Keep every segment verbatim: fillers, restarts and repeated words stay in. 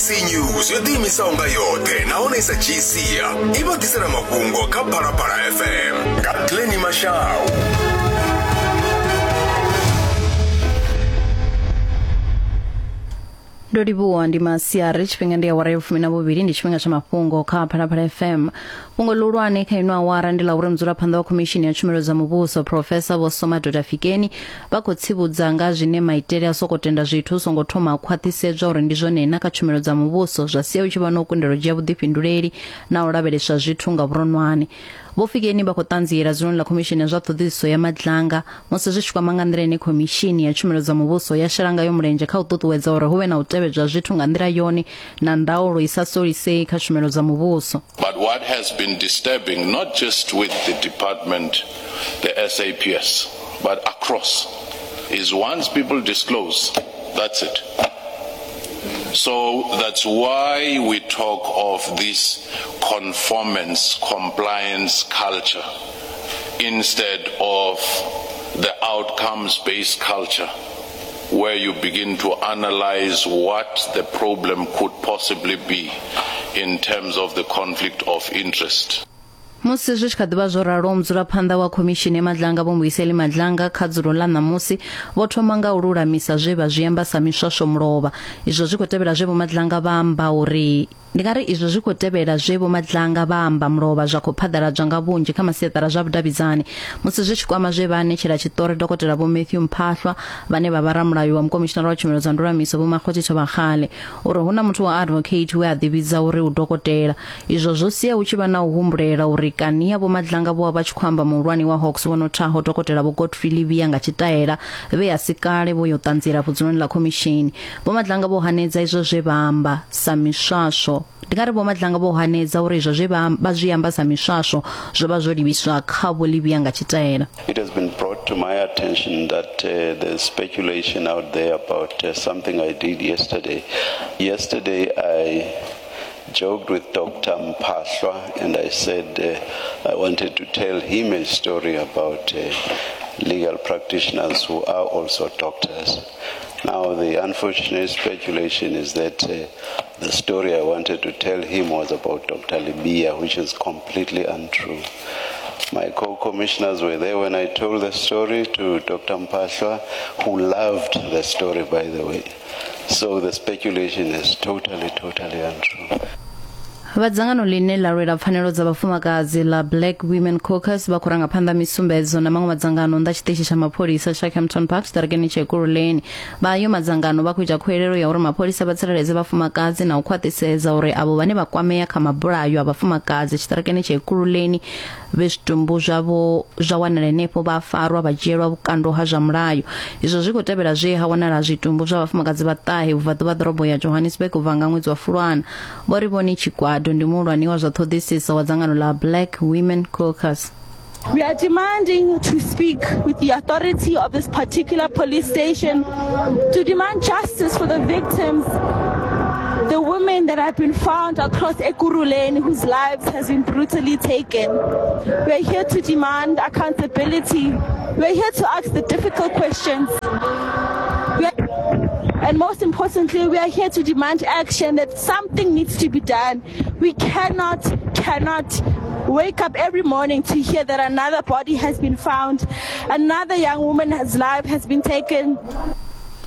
S A B C News yo ḓiimisaho nga yoṱhe nahone i sa dzhii sia i vha ḓisela mafhungo kha Phalaphala F M nga Glenny Mashau. Ndo livhuwa ndi masiari tshifhinga ndi awara ya fumi na vhuvhili ndi tshifhinga tsha mafhungo kha Phalaphala F M. Fhungo ḽihulwane kha ino awara ndi ḽa uri mudzulaphanḓa wa khomishini ya tshumelo dza muvhuso Professor Vho Somadoda Fikeni vha khou tsivhudza nga zwine maitele a soko tenda zwithu hu songo thoma khwaṱhisedzwa uri ndi zwone na kha tshumelo dza muvhuso zwa sia hu tshi vha na u kundelwa u dzhia vhuḓifhinduleli na u lavheleswa zwithu nga vhuronwane. Vho Fikeni vha khou ṱanziela dzuloni ḽa khomishini ya zwa ṱhoḓisiso ya Madlanga musi zwi tshi kwama nga nḓila ine khomishini ya tshumelo dza muvhuso ya shela ngayo mulenzhe kha u ṱuṱuwedza uri hu vhe na u tevhedzwa zwithu nga nḓila yone na ndaulo i sa solisei kha tshumelo dza muvhuso. But what has been disturbing, not just with the department, the S A P S, but across, is once people disclose, that's it. So that's why we talk of this conformance, compliance culture instead of the outcomes-based culture, where you begin to analyze what the problem could possibly be in terms of the conflict of interest. Musi zwi tshi kha ḓivha zwo ralo, mudzulaphanḓa wa khomishini ya Madlanga Vho Mbuyiseli Madlanga kha dzulo ḽa ṋamusi vho thoma nga u lulamisa zwe vha zwi amba sa miswaswo mulovha. Izwo zwi khou tevhela zwe Vho Madlanga vha amba uri ndi nga ri izwo zwi khou tevhela zwe Vho Madlanga vha amba mulovha zwa khou phaḓaladzwa nga vhunzhi kha masiaṱara zwa vhudavhidzani. Musi zwi tshi kwama zwe vha anetshela tshiṱori Dokotela Vho Matthew Mphahlwa vhane vha vha ramulayo wa mukomishinara wa tshumelo dza ndulamiso Vho Makgotsi Thobakgale uri hu na muthu wa advocate we a ḓivhidza uri u dokotela. Izwo zwo sia hu tshi vha na u humbulela uri kani ya Vho Madlanga vho vha tshi khou amba muhulwane wa Hawks vho nothaho Dokotela Vho Godfrey Livia nga tshitaela vhe a si kale vho yo ṱanziela vhudzuloni ḽa khomishini. Vho Madlanga vho hanedza izwo zwe vha amba sa miswaswo. Ndi nga ri Vho Madlanga vho hanedza uri izwo zwe vha zwi amba sa miswaswo zwo vha zwo livhiswa kha Vho Livia nga tshitaela. It has been brought to my attention that uh, there's speculation out there about uh, something I did yesterday. Yesterday I joked with Doctor Mphahlwa and I said uh, I wanted to tell him a story about uh, legal practitioners who are also doctors. Now, the unfortunate speculation is that uh, the story I wanted to tell him was about Doctor Libya, which is completely untrue. My co-commissioners were there when I told the story to Doctor Mphahlwa, who loved the story, by the way. So the speculation is totally, totally untrue. Vha dzangano ḽine ḽa lwela pfanelo dza vhafumakadzi ḽa Black Women Caucus vha khou ranga phanḓa misumbedzo na maṅwe madzangano nnḓa tshiṱitshi tsha mapholisa tsha Kempton Park tshiṱarakeni tsha Ekurhuleni. Vha ayo madzangano vha khou ita khuwelelo ya uri mapholisa vha tsireledze vhafumakadzi na u khwaṱhisedza uri avho vhane vha kwamea kha mabulayo a vhafumakadzi tshiṱarakeni tsha Ekurhuleni vhe zwitumbu zwavho zwa wanala henefho vha farwa vha dzhielwa vhukando ha zwa mulayo. Izwo zwi khou tevhela zwe ha wanala zwitumbu zwa vhafumakadzi vha ṱahe vhubvaḓuvha ḓorobo ya Johannesburg u bva nga ṅwedzi wa Fulwana. Vho ri vhone tshigwada ndi muhulwane wa zwa ṱhoḓisiso wa dzangano ḽa Black Women Caucus. We are demanding to speak with the authority of this particular police station to demand justice for the victims, the women that have been found across Ekurhuleni whose lives has been brutally taken. We are here to demand accountability. We are here to ask the difficult questions. We are, and most importantly, we are here to demand action, that something needs to be done. We cannot, cannot wake up every morning to hear that another body has been found, another young woman's life has been taken.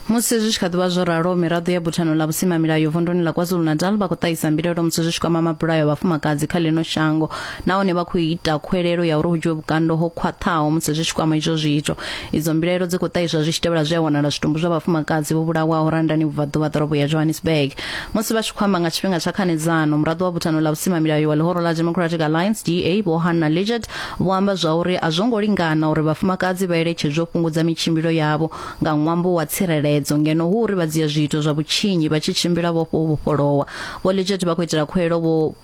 Musi zwi tshi kha ḓivha zwo ralo, miraḓo ya buthano ḽa vhusimamilayo vunduni ḽa KwaZulu-Natal vha khou ṱahisa mbilaelo musi zwi tshi kwama mabulayo a vhafumakadzi kha ḽino shango, nahone vha khou ita khuwelelo ya uri hu dzhiwe vhukando ho khwaṱhaho musi zwi tshi kwama izwo zwiito. Idzo mbilaelo dzi khou ṱahiswa zwi tshi tevhela zwe a wanala zwitumbu zwa vhafumakadzi vho vhulawaho Randani vhubvaḓuvha ḓorobo ya Johannesburg. Musi vha tshi khou amba nga tshifhinga tsha khanedzano, muraḓo wa buthano ḽa vhusimamilayo wa ḽihoro ḽa Democratic Alliance D A Vho Hannah Lidgett vho amba zwa uri a zwo ngo lingana uri vhafumakadzi vha eletshedzwe u fhungudza mitshimbilo yavho nga ṅwambo wa tsireledzo, ngeno hu uri vha dzhia zwiito zwa vhutshinyi vha tshi tshimbila vho vhofholowa. Vho Lidgett vha khou itela khuwelelo vho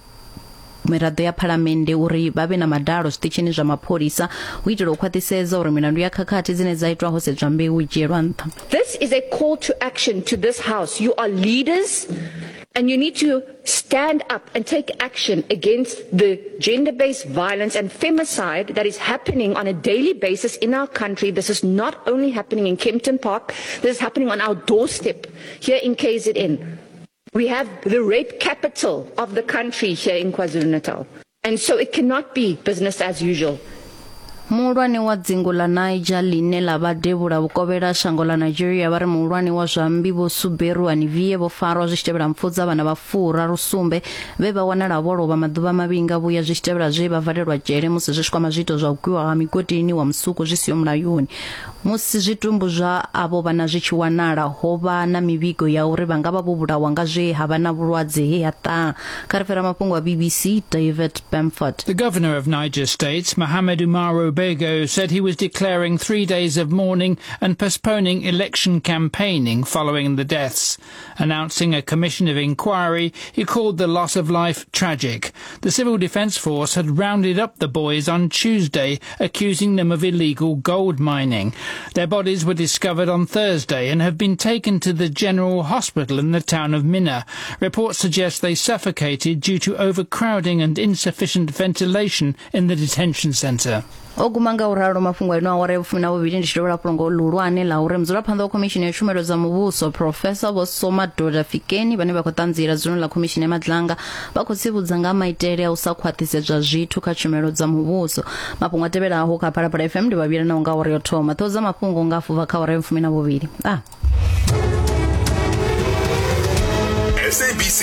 miraḓo ya phalamennde uri vha vhe na madalo zwiṱitshini zwa mapholisa u itela u khwaṱhisedza uri milandu ya khakhathi dzine dza itwa ho sedzwa mbeu i dzhielwa nṱha. This is a call to action to this house. You are leaders and you need to stand up and take action against the gender-based violence and femicide that is happening on a daily basis in our country. This is not only happening in Kempton Park, this is happening on our doorstep here in K Z N. We have the rape capital of the country here in KwaZulu-Natal. And so it cannot be business as usual. Muhulwane wa dzingu ḽa Niger ḽine ḽa vha devhula vhukovhela shango ḽa Nigeria vha ri muhulwane wa zwa mmbi Vho Suberu Anivie vho farwa zwi tshi tevhela mpfu dza vhana vha furaru sumbe vhe vha wanala vho lovha maḓuvha mavhili nga vhuya zwi tshi tevhela zwe vha valelwa dzhele musi zwi tshi kwama zwiito zwa u gwiwa ha migodini wa musuku zwi siho mulayoni. Musi zwitumbu zwa avho vhana zwi tshi wanala ho vha na mivhigo ya uri vha nga vha vho vhulawa nga zwe ha vha na vhulwadze he ha ṱaha. Kha ri fhira mafhungo a B B C, David Bamford. The governor of Niger State, Mohammed Umaru Bego, said he was declaring three days of mourning and postponing election campaigning following the deaths. Announcing a commission of inquiry, he called the loss of life tragic. The Civil Defence Force had rounded up the boys on Tuesday, accusing them of illegal gold mining. Their bodies were discovered on Thursday and have been taken to the General Hospital in the town of Minna. Reports suggest they suffocated due to overcrowding and insufficient ventilation in the detention centre. O guma nga u ralo mafhungo ino awara ya vhufumi na vhuvhili ndi tshi dovhela fhungo ḽihulwane ḽa uri mudzulaphanḓa wa khomishini ya tshumelo dza muvhuso Professor Vho Somadoda Fikeni vhane vha khou ṱanziela dzuloni ḽa khomishini ya Madlanga vha khou tsivhudza nga maitele a u sa khwaṱhisedzwa zwithu kha tshumelo dza muvhuso. Mafhungo a tevhelaho kha Phalaphala F M ndi vhavhili naho nga awara yo thoma. Ṱhoho dza mafhungo nga fuvha kha awara ya vhufumi na vhuvhili. Ah. S A B C